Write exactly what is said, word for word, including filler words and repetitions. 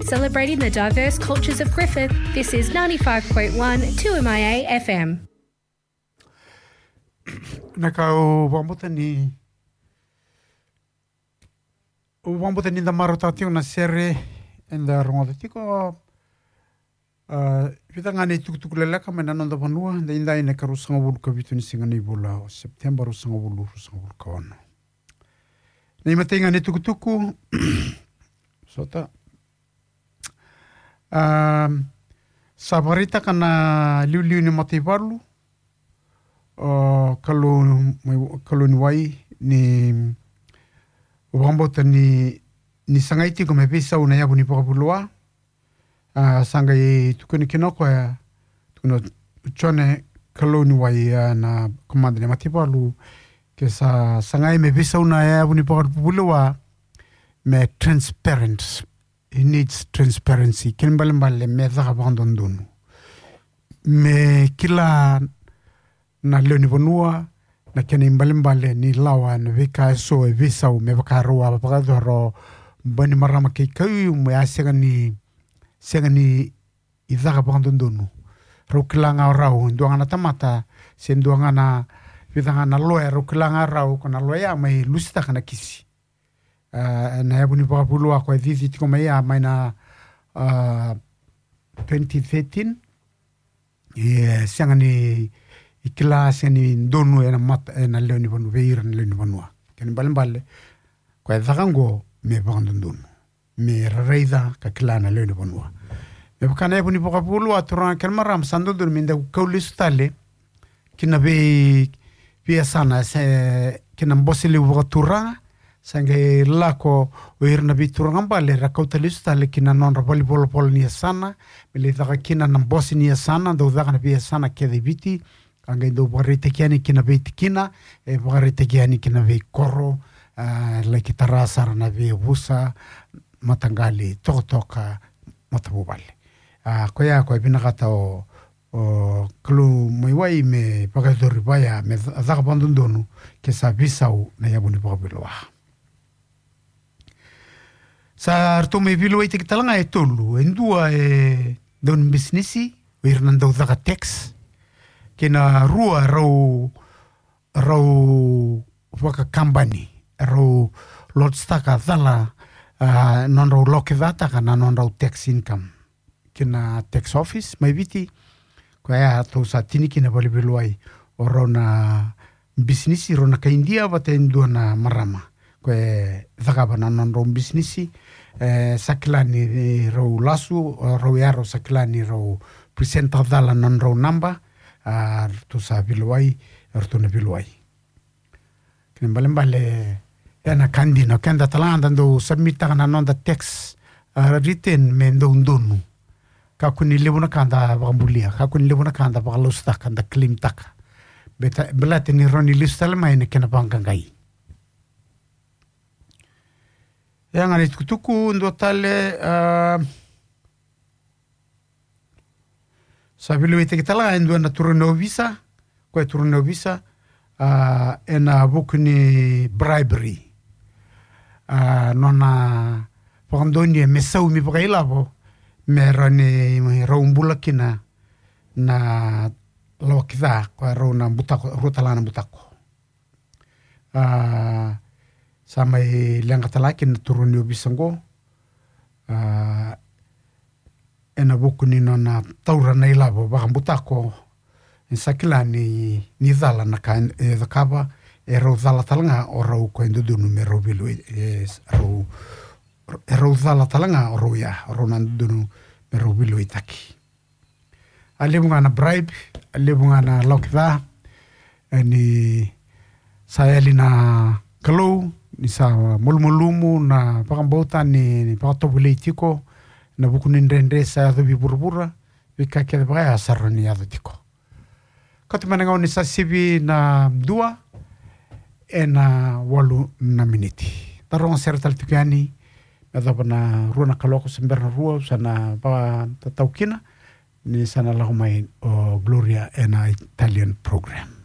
Celebrating the diverse cultures of Griffith, this is ninety-five point one two M I A F M. Na ka au vakabauta ni, au vakabauta ni da marautaka tiko na sere eda rogoca tiko. A, vica ga na itukutuku leleka mai na noda vanua, daidai na ikaruasagavulu ka vitu ni siga ni vula o September, ruasagavulu, ruasagavulu ka ono. Na imatai ga na itukutuku, sota. A, sa vakaraitaka na liuliu ni mataivalu, o Kalou, Kalou ni wai, ni vakabauta ni, ni sagai tiko me veisau na yavu ni vakavulewa. A, sa qai tukuni kina o koya, tukuna o Jone Kalou ni wai, a, na komada ni mataivalu, ke sa sagai me veisau na yavu ni vakavulewa, me transparent. It needs transparency. Kena ibalebale me caka vakadodonu. Me kila na lewe ni vanua na kena ibalebale ni lawa, na veika eso e veisau, me vaka rau a vakayacora o Bainimarama kei Khaiyum, me a sega ni, sega ni caka vakadodonu. Rau kila ga o rau, dua ga na tamata, se dua ga na, vica ga na loya, rau kila ga o rau ko na loya mai lusitaka na kisi. A, na yavu ni vakavulewa ko e cici tiko mai ya mai na, a, twenty thirteen. E sega ni kila, sega ni donu ena mata, ena lewe ni vanua, vei ira na lewe ni vanua. Kena ibalebale ko e caka oqo me vakadodonu, me ra raica ka kila na lewe ni vanua. Me vaka na yavu ni vakavulewa, turaga kei na marama, sa dodonu me da kau lesu tale ki na vei, veiyasana, se ki na bose levu vakaturaga. Sa qai lako o ira na veituraga bale, ra kauta lesu tale ki na nodra valenivolavola ni yasana, me lai caka kina na bose ni yasana, dau caka na veiyasana kece e Viti. A qai dau vakaraitaki yani ki na veitikina, e vakaraitaki yani ki na veikoro, a, laki tara sara na veiyavusa, mataqali, tokatoka, matavuvale. A, koya ko e vinakata o, o Kalou mai wai me vakayacori vaya, me ca-, caka vakadodonu ke sa veisau na yavu ni vakavulewa. Sa ratou mai veilewaitaki tale ga e tolu, e dua e dau ni bisinisi, o ira na dau caka tax, kei na rua rau, rau vakakabani, rau lodgetaka cala, a, nodrau lokicataka na nodrau tax income ki na tax office mai Viti. Koya tou sa tini kina valeveilewai, o rau na bisinisi, rau na kai Idia vata e dua na marama. Ko e cakava na nodrau bisinisi, e, sa kila ni rau lasu, o rau ya rau sa kila ni rau present-taka cala na nodrau naba, a, ratou sa veilewai, ratou na veilewai. Kena ibalebale, e na ka dina, o keda tale ga da dau submit-taka na noda tax, a, return me dau donu. Kakua ni levu na ka da vakabulia, kakua ni levu na ka da vakalausutaka, da claim-taka. Beta, baleta ni rawa ni lesu tale mai na kena vaqaqai. E a ga na itukutuku, dua tale, a, sa veilewaitaki tale ga e dua na turaga ni ovisa, ko e turaga ni ovisa, a, e na vuku ni bribery. A, nona vakadonuya me saumi vakailavo, me rawa ni rau bula kina na lawa ki ca, ko e rau na butako, rua tale ga na butako. A, sa mai leqa tale ga kina na turaga ni ovisa oqo. A, e na vuku ni nona taura na ilavo vakabutako, e sa kila ni, ni cala na ka e cakava, e rau cala tale ga o rau ko e dodonu me rau veilewai, e rau, e rau cala tale ga o rau ya, o rau na dodonu me rau veilewaitaki. A levu ga na bribe, a levu ga na lawa ki ca, e ni sa yali na Kalou, ni sa malumalumu na vakabauta ni, ni vakatovolei tiko, na vuku ni dredre sa yaco vei vuravura, veika kece vaka ya sa rawa ni yaco tiko. Kauta mai na gauna ni sa sivi na dua, e na walu na miniti. Da rogo sere tale tiko yani, me yacova na rua na kaloko se bera na rua, sa na vakatatau kina, ni sa na lako mai o Gloria e na Italian program.